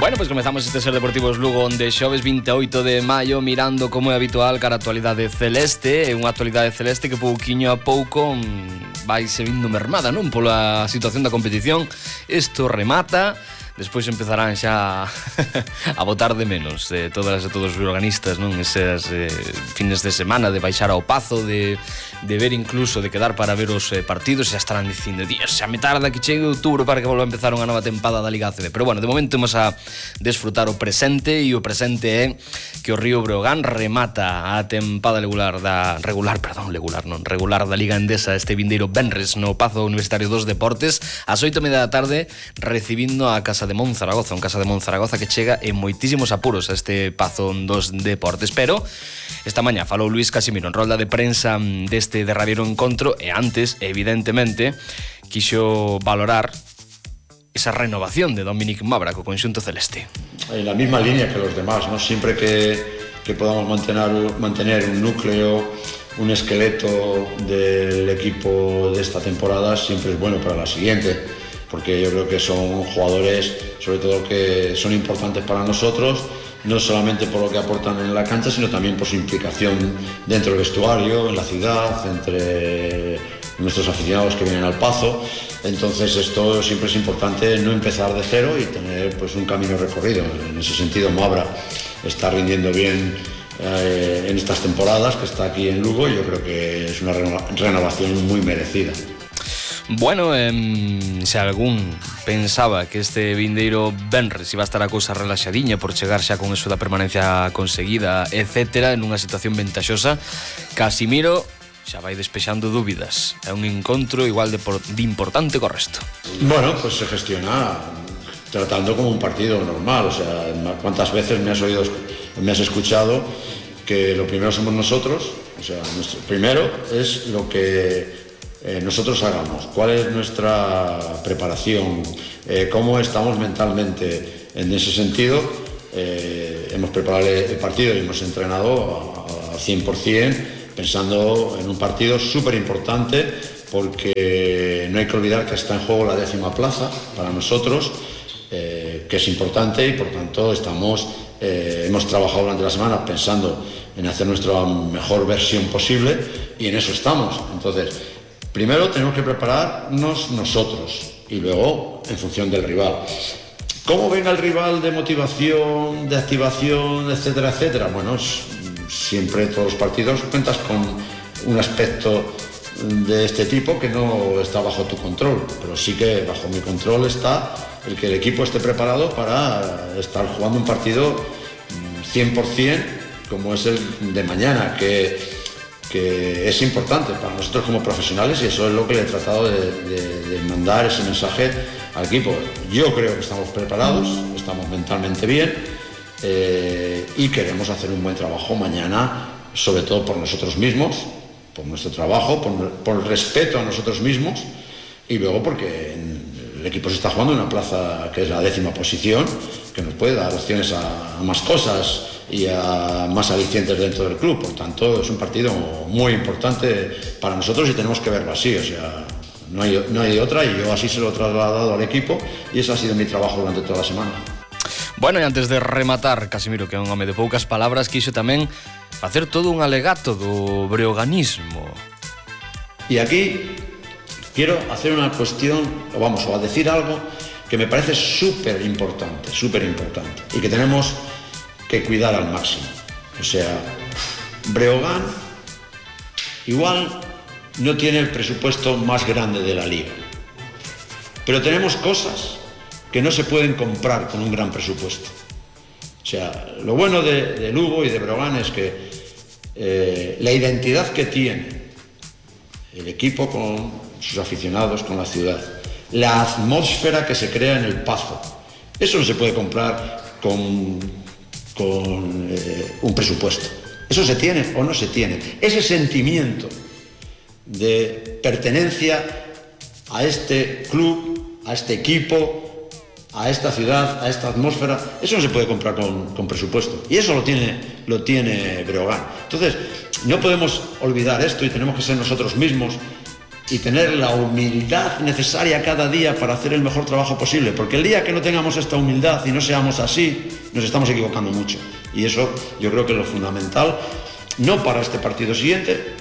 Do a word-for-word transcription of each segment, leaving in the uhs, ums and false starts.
Bueno, pois pues comezamos este Ser Deportivos Lugo onde xoves vinte e oito de maio mirando como é habitual cara a actualidade celeste. É unha actualidade celeste que pouquiño a pouco vai se vindo mermada, non? Pola situación da competición. Isto remata, despois empezarán xa a botar de menos eh, todas e todos os organistas, non? Esas eh, fines de semana de baixar ao Pazo, de, de ver incluso, de quedar para ver os eh, partidos, e xa estarán dicindo, Dios, xa me tarda que chegue outubro para que volva a empezar unha nova tempada da Liga A C B. Pero bueno, de momento imos a desfrutar o presente, e o presente é que o Río Breogán remata a tempada regular da regular, perdón, regular non, regular da Liga Endesa este vindeiro venres no Pazo Universitario dos Deportes ás oito e media da tarde, recibindo a Casa de Monzaragoza, un Casa de Monzaragoza que chega en moitísimos apuros a este Pazo dos Deportes. Pero esta mañá falou Luís Casimiro en rolda de prensa deste derradeiro encontro, e antes, evidentemente, quixo valorar esa renovación de Dominic Mabra co conxunto celeste. En la misma línea que los demás, ¿no? Siempre que, que podamos mantener, mantener un núcleo, un esqueleto del equipo de esta temporada, siempre es bueno para la siguiente, porque yo creo que son jugadores, sobre todo, que son importantes para nosotros, no solamente por lo que aportan en la cancha, sino también por su implicación dentro del vestuario, en la ciudad, entre nuestros aficionados que vienen al Pazo. Entonces esto siempre es importante, no empezar de cero y tener pues un camino recorrido. En ese sentido, Mabra está rindiendo bien eh, en estas temporadas que está aquí en Lugo, y yo creo que es una renovación muy merecida. Bueno, eh, se algún pensaba que este vindeiro venres iba a estar a cousa relaxadiña por chegar xa con eso da permanencia conseguida, etcétera, en unha situación ventaxosa, Casimiro xa vai despexando dúbidas. É un encontro igual de, por, de importante co resto. Bueno, pues se gestiona tratando como un partido normal. O sea, ¿cuántas veces me has oído, me has escuchado que lo primero somos nosotros? O sea, nuestro primero es lo que eh, nosotros hagamos. ¿Cuál es nuestra preparación? Eh, ¿Cómo estamos mentalmente? En ese sentido, eh, hemos preparado el partido y hemos entrenado al cien por cien, pensando en un partido súper importante, porque no hay que olvidar que está en juego la décima plaza para nosotros, eh, que es importante, y por tanto estamos, eh, hemos trabajado durante la semana pensando en hacer nuestra mejor versión posible, y en eso estamos. Entonces, primero tenemos que prepararnos nosotros y luego en función del rival. ¿Cómo venga el rival de motivación, de activación, etcétera, etcétera? Bueno, es, siempre todos los partidos cuentas con un aspecto de este tipo que no está bajo tu control, pero sí que bajo mi control está el que el equipo esté preparado para estar jugando un partido cien por cien como es el de mañana, que, que es importante para nosotros como profesionales, y eso es lo que le he tratado de, de, de mandar ese mensaje al equipo. Yo creo que estamos preparados, estamos mentalmente bien, Eh, y queremos hacer un buen trabajo mañana, sobre todo por nosotros mismos, por nuestro trabajo, por, por respeto a nosotros mismos, y luego porque el equipo se está jugando en una plaza que es la décima posición, que nos puede dar opciones a, a más cosas y a más alicientes dentro del club. Por tanto, es un partido muy importante para nosotros y tenemos que verlo así. O sea, no hay, no hay otra, y yo así se lo he trasladado al equipo, y ese ha sido mi trabajo durante toda la semana. Bueno, e antes de rematar, Casimiro, que é un home de poucas palabras, quixo tamén facer todo un alegato do breoganismo. Y aquí quiero hacer una cuestión, o vamos, o a decir algo que me parece súper importante, súper importante, y que tenemos que cuidar al máximo. O sea, Breogán igual no tiene el presupuesto más grande de la liga, pero tenemos cosas que no se pueden comprar con un gran presupuesto. O sea, lo bueno de, de Lugo y de Breogán es que eh, la identidad que tiene el equipo con sus aficionados, con la ciudad, la atmósfera que se crea en el Pazo, eso no se puede comprar con, con eh, un presupuesto. Eso se tiene o no se tiene. Ese sentimiento de pertenencia a este club, a este equipo, a esta ciudad, a esta atmósfera, eso no se puede comprar con, con presupuesto, y eso lo tiene, lo tiene Breogán. Entonces, no podemos olvidar esto, y tenemos que ser nosotros mismos y tener la humildad necesaria cada día para hacer el mejor trabajo posible, porque el día que no tengamos esta humildad y no seamos así, nos estamos equivocando mucho. Y eso yo creo que es lo fundamental, no para este partido siguiente,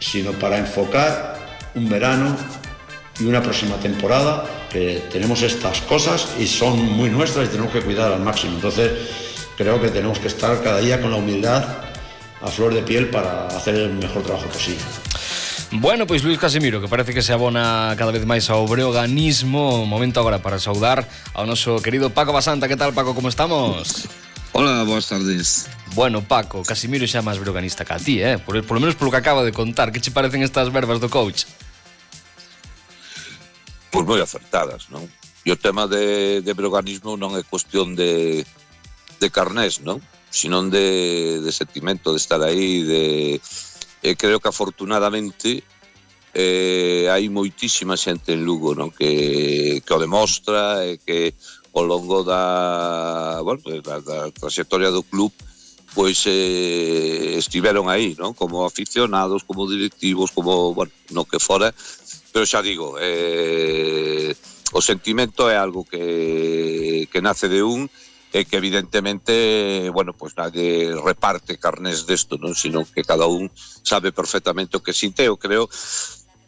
sino para enfocar un verano y una próxima temporada, que tenemos estas cosas y son muy nuestras y tenemos que cuidar al máximo. Entonces creo que tenemos que estar cada día con la humildad a flor de piel para hacer el mejor trabajo posible. Bueno, pois Luís Casimiro, que parece que se abona cada vez máis ao breoganismo. Momento agora para saudar ao noso querido Paco Basanta. Que tal, Paco, como estamos? Hola, boas tardes. Bueno, Paco, Casimiro xa máis breoganista que a ti, eh? Por, por lo menos polo que acaba de contar. Que che parecen estas verbas do coach? Pois moi acertadas, non? E o tema de, de breoganismo non é cuestión de, de carnés, non? Sinón de, de sentimento, de estar aí, de... E creo que afortunadamente eh, hai moitísima xente en Lugo, non? Que, que o demostra e que ao longo da, bueno, da, da trayectoria do club pois eh, estiveron aí, non? Como aficionados, como directivos, como, bueno, no que fora, pero xa digo, eh, o sentimento é algo que, que nace de un e que evidentemente, bueno, pues nadie reparte carnés desto, non? Sino que cada un sabe perfectamente o que sinte. Eu creo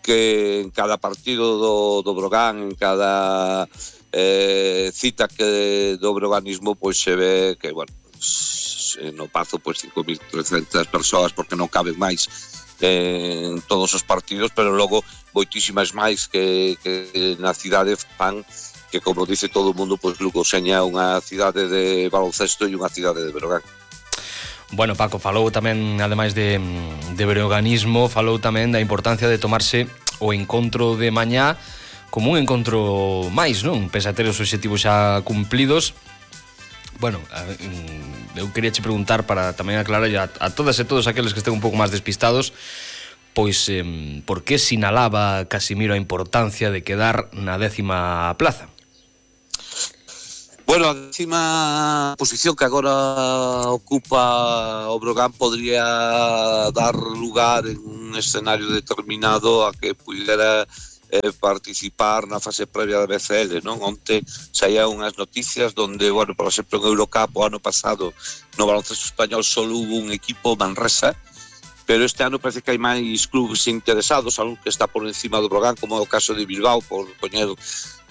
que en cada partido do, do Brogan, en cada eh, cita que do breoganismo, pois se ve que, bueno, pues, no Pazo, pois cinco mil trescentas persoas, porque non caben máis en todos os partidos, pero logo moitísimas máis que, que na cidade fan que, como dice todo o mundo, pois Lugo seña unha cidade de baloncesto e unha cidade de Breogán. Bueno, Paco, falou tamén, ademais de, de breoganismo, falou tamén da importancia de tomarse o encontro de mañá como un encontro máis, non? Pese a ter os obxectivos xa cumplidos. Bueno, eu quería che preguntar para tamén aclarar a, a todas e todos aqueles que estén un pouco máis despistados, pois eh, por que sinalaba Casimiro a importancia de quedar na décima plaza? Bueno, a décima posición que agora ocupa o Brogan podría dar lugar en un escenario determinado a que pudera eh, participar na fase previa da B C L, non? Onte saían unhas noticias donde, bueno, por exemplo, en Eurocup o ano pasado no baloncesto español só hubo un equipo, Manresa, pero este ano parece que hai máis clubes interesados, algo que está por encima do Brogan, como é o caso de Bilbao, por poñer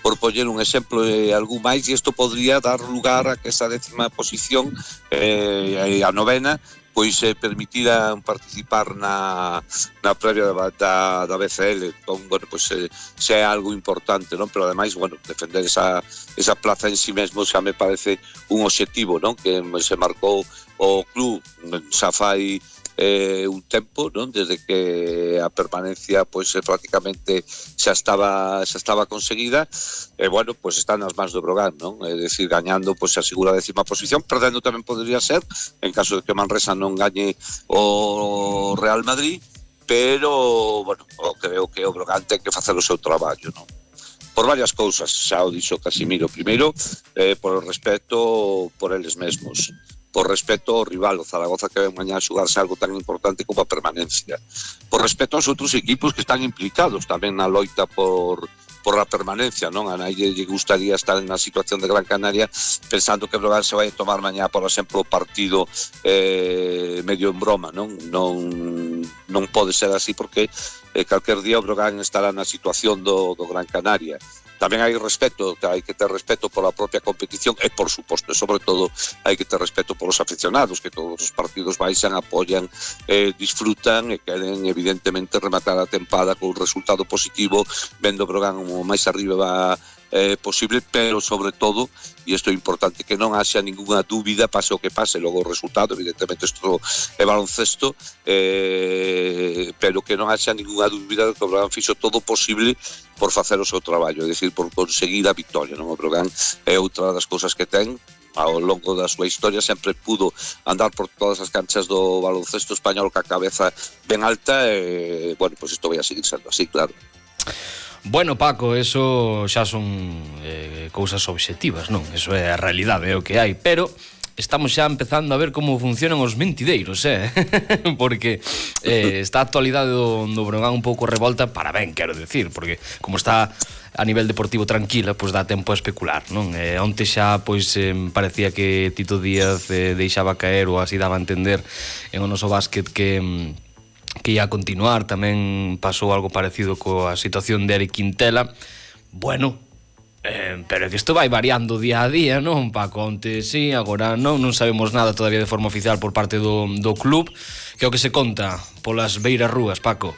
por poñer un exemplo e algún máis, e isto podría dar lugar a que esa décima posición eh, a novena pois eh, permitiran participar na, na previa da, da, da B C L. Entón, bueno, pois eh, xa é algo importante, non? Pero ademais, bueno, defender esa, esa plaza en si mesmo xa me parece un obxectivo, non? Que se marcou o club xa fai eh, un tempo, non? Desde que a permanencia pois eh, prácticamente xa estaba xa estaba conseguida, e bueno, pois está nas mans do Brogan, non? É dicir, gañando pois a segura décima posición, perdendo tamén podría ser en caso de que Manresa non gañe o Real Madrid, pero bueno, creo que o Brogan ten que facer o seu traballo, non? Por varias cousas, xa o dixo Casimiro. Primeiro, eh, por o respeto por eles mesmos, por respeto ao rival, o Zaragoza, que ven mañá a xugarse algo tan importante como a permanencia, por respeto aos outros equipos que están implicados tamén na loita por, por a permanencia, non? A nadie lle gustaría estar na situación de Gran Canaria pensando que Brogan se vai a tomar mañá, por exemplo, o partido eh, medio en broma, non? Non, non pode ser así, porque eh, calquer día o Brogan estará na situación do, do Gran Canaria. Tamén hai respeto, hai que ter respeto pola propia competición e, por suposto, e sobre todo, hai que ter respeto polos aficionados, que todos os partidos baixan, apoian, eh, disfrutan e queren, evidentemente, rematar a tempada con un resultado positivo, vendo o Brogan o máis arriba eh, posible, pero, sobre todo, e isto é importante, que non haxa ninguna dúbida, pase o que pase, logo o resultado, evidentemente, isto é baloncesto, eh, pero que non haxa ninguna dúbida de que o Brogan fixo todo posible por facer o seu traballo, é dicir, por conseguir a victoria, non? O Brogan é outra das cousas que ten ao longo da súa historia, sempre pudo andar por todas as canchas do baloncesto español ca cabeza ben alta e, bueno, pois isto vai a seguir sendo así, claro. Bueno, Paco, eso xa son eh, cousas obxectivas, non? Eso é a realidade, é o que hai, pero estamos xa empezando a ver como funcionan os mentideiros, eh? Porque eh, está a actualidade do, do Breogán un pouco revolta, para ben, quero decir, porque como está a nivel deportivo tranquila, pois dá tempo a especular, non? Eh, onte xa, pois, eh, parecía que Tito Díaz eh, deixaba caer, ou así daba a entender en o noso básquet que... que ia a continuar. Tamén pasou algo parecido coa situación de Eric Quintela. Bueno, eh, pero é que isto vai variando día a día, non, Paco? Onte sí, agora non, non sabemos nada todavía de forma oficial por parte do, do club. Que é o que se conta polas beiras rúas, Paco?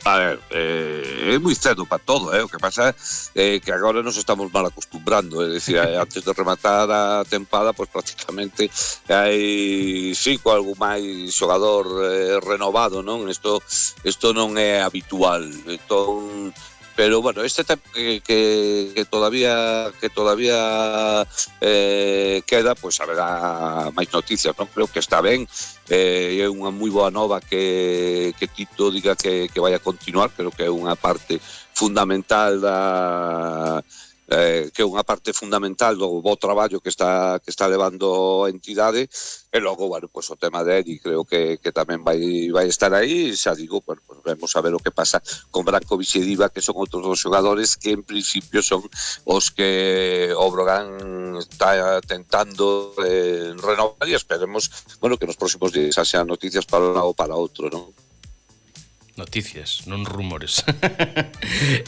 A ver, eh, é moi cedo para todo, eh? O que pasa é eh, que agora nos estamos mal acostumbrando, é dicir, antes de rematar a tempada, pois pues, prácticamente hai cinco algo máis xogador eh, renovado, non? Isto, isto non é habitual, entón... Pero bueno, este tempo que, que, que todavía que todavía eh, queda, pois pues, haberá máis noticias, non? Creo que está ben, eh, é unha moi boa nova que, que Tito diga que, que vai a continuar, creo que é unha parte fundamental da... Eh, que é unha parte fundamental do bo traballo que está que está levando a entidade, e logo, bueno, pues, o tema de Eri creo que, que tamén vai, vai estar aí, xa digo, bueno, pues, vemos a ver o que pasa con Brankovic e Diva, que son outros dos xogadores que en principio son os que o Breogán está tentando eh, renovar, e esperemos, bueno, que nos próximos días sean noticias para un lado ou para outro, non? Noticias, non rumores.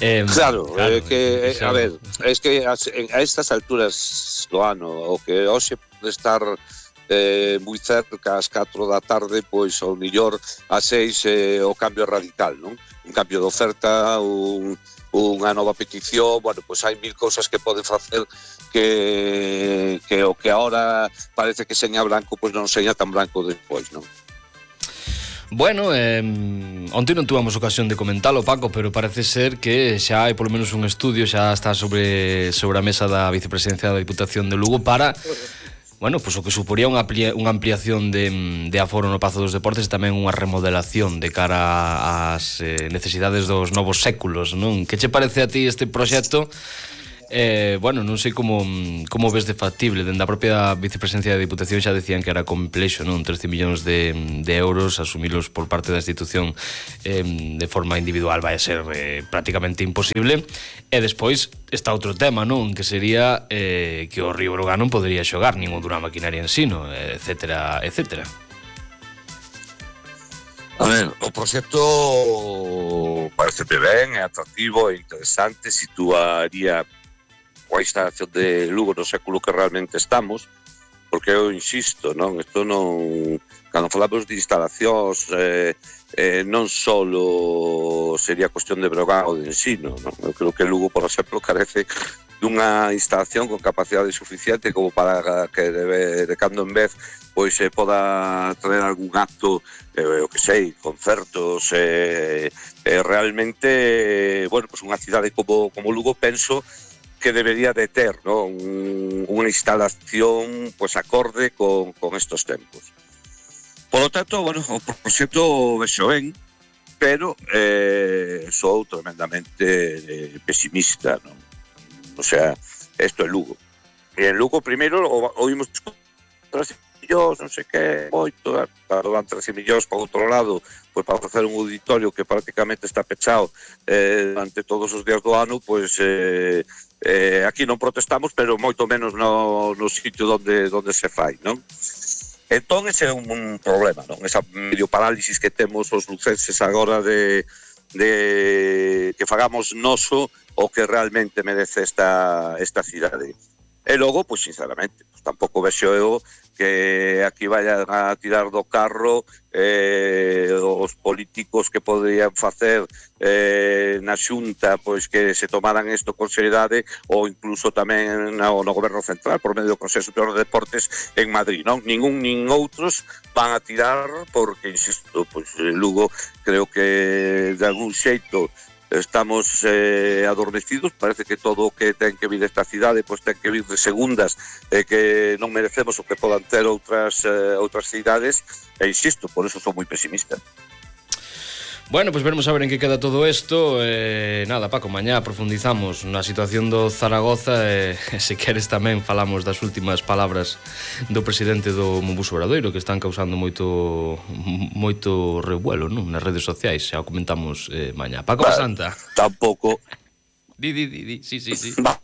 eh, claro, claro, eh, que, eh, a ver, es que a, a estas alturas do ano, o que hoxe pode estar eh, moi cerca ás catro da tarde, pois ao millor ás seis eh, o cambio radical, non? Un cambio de oferta, un, unha nova petición, bueno, pois hai mil cousas que poden facer que, que o que ahora parece que seña branco, pois non seña tan branco despois, non? Bueno, eh, onte non tuvamos ocasión de comentalo, Paco, pero parece ser que xa hai polo menos un estudio, xa está sobre, sobre a mesa da vicepresidencia da Diputación de Lugo para, bueno, pues o que suporía unha, amplia, unha ampliación de, de aforo no Pazo dos Deportes e tamén unha remodelación de cara ás eh, necesidades dos novos séculos, non? Que che parece a ti este proxecto? Eh, bueno, non sei como, como ves de factible. Dende a propia vicepresidencia da Diputación xa decían que era complexo, non? trece millóns de, de euros asumilos por parte da institución eh, de forma individual vai a ser eh, prácticamente imposible. E despois está outro tema, non? Que sería eh, que o Río Breogán non podería xogar nin o Durán Maquinaria Ensino, etcétera, etcétera. A ver, o proxecto parece ben, é atractivo, é interesante, situaría coa instalación de Lugo no século que realmente estamos, porque eu insisto, non? Isto non... Cando falamos de instalacións, eh, eh, non só sería cuestión de Breogán ou de Ensino, non? Eu creo que Lugo, por exemplo, carece dunha instalación con capacidade suficiente como para que de, de cando en vez pois se eh, poda traer algún acto, eh, o que sei, concertos, eh, eh, realmente, eh, bueno, pues unha cidade como, como Lugo, penso que debería de ter, ¿no? Un, unha instalación pues acorde con, con estos tempos. Por lo tanto, bueno, o proxecto vexo ben, pero eh, sou tremendamente eh, pesimista, ¿no? O sea, esto é Lugo. E en Lugo, primeiro, oímos trece millóns, non sei que, moito, claro, van trece millóns para outro lado, pois para facer un auditorio que prácticamente está pechado eh, durante todos os días do ano, pois eh, eh, aquí non protestamos, pero moito menos no, no sitio donde, donde se fai, non? Entón, ese é un, un problema, non? Esa medio parálisis que temos os lucenses agora de, de que fagamos noso o que realmente merece esta, esta cidade. E logo, pois, sinceramente, pois, tampouco vexo eu que aquí vayan a tirar do carro eh, os políticos que poderían facer eh, na xunta pois que se tomaran isto con seriedade, ou incluso tamén no, no goberno central por medio do Consello Superior de Deportes en Madrid, non? Ningún nin outros van a tirar porque, insisto, pois Lugo creo que de algún xeito estamos eh, adormecidos, parece que todo o que ten que vir desta cidade pois ten que vir de segundas e eh, que non merecemos o que podan ter outras, eh, outras cidades, e insisto, por eso son moi pesimista. Bueno, pues veremos a ver en que queda todo isto. eh, Nada, Paco, mañá profundizamos na situación do Zaragoza e, eh, se queres tamén falamos das últimas palabras do presidente do Mombuso Obradoiro, que están causando moito moito revuelo, non? Nas redes sociais, xa o comentamos eh, mañá. Paco bah, Basanta. Tampouco. Di, di, di, di, sí, sí, sí. Bah.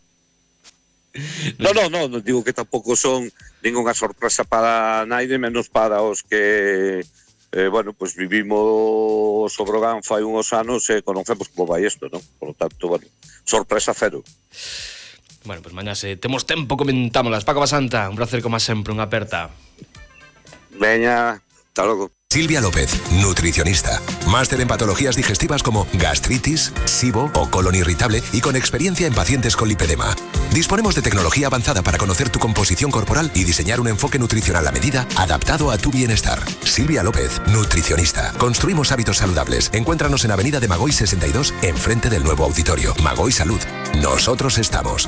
No, no, no, non digo que tampouco son ninguna sorpresa para naide, menos para os que Eh, bueno, pues vivimos o Brogan fai uns anos e conocemos como vai isto, non? Por lo tanto, bueno, sorpresa cero. Bueno, pues mañá se temos tempo comentámolas. Paco Basanta, un placer como sempre, unha aperta. Veña, hasta logo. Silvia López, nutricionista. Máster en patologías digestivas como gastritis, SIBO o colon irritable y con experiencia en pacientes con lipedema. Disponemos de tecnología avanzada para conocer tu composición corporal y diseñar un enfoque nutricional a medida adaptado a tu bienestar. Silvia López, nutricionista. Construimos hábitos saludables. Encuéntranos en Avenida de Magoy sesenta y dos, enfrente del nuevo auditorio. Magoy Salud. Nosotros estamos.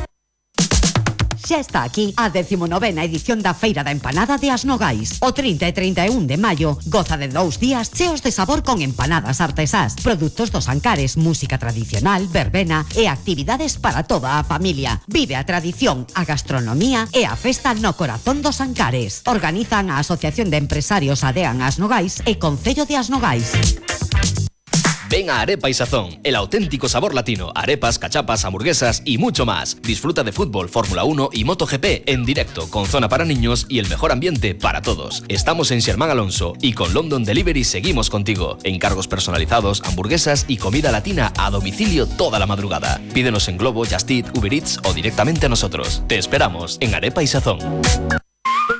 Xa está aquí a decimonovena edición da Feira da Empanada de As Nogais. O trinta e trinta e un de maio goza de dous días cheos de sabor con empanadas artesás, produtos dos Ancares, música tradicional, verbena e actividades para toda a familia. Vive a tradición, a gastronomía e a festa no corazón dos Ancares. Organizan a Asociación de Empresarios Adean As Nogais e Concello de As Nogais. Ven a Arepa y Sazón, el auténtico sabor latino, arepas, cachapas, hamburguesas y mucho más. Disfruta de fútbol, Fórmula uno y MotoGP en directo, con zona para niños y el mejor ambiente para todos. Estamos en Xermán Alonso y con London Delivery seguimos contigo. Encargos personalizados, hamburguesas y comida latina a domicilio toda la madrugada. Pídenos en Globo, Just Eat, Uber Eats o directamente a nosotros. Te esperamos en Arepa y Sazón.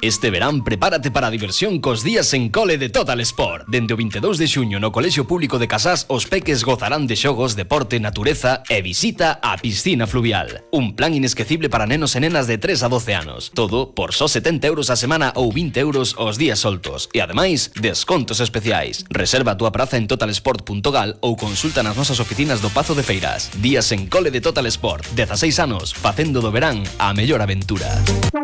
Este verán prepárate para a diversión cos días en cole de Total Sport. Dende o veintidós de xuño no Colexio Público de Casás os peques gozarán de xogos, deporte, natureza e visita á piscina fluvial. Un plan inesquecible para nenos e nenas de tres a doce anos. Todo por só setenta euros a semana ou vinte euros os días soltos. E ademais, descontos especiais. Reserva a túa praza en totalsport punto gal ou consulta nas nosas oficinas do Pazo de Feiras. Días en cole de Total Sport. dezaseis anos, facendo do verán a mellor aventura.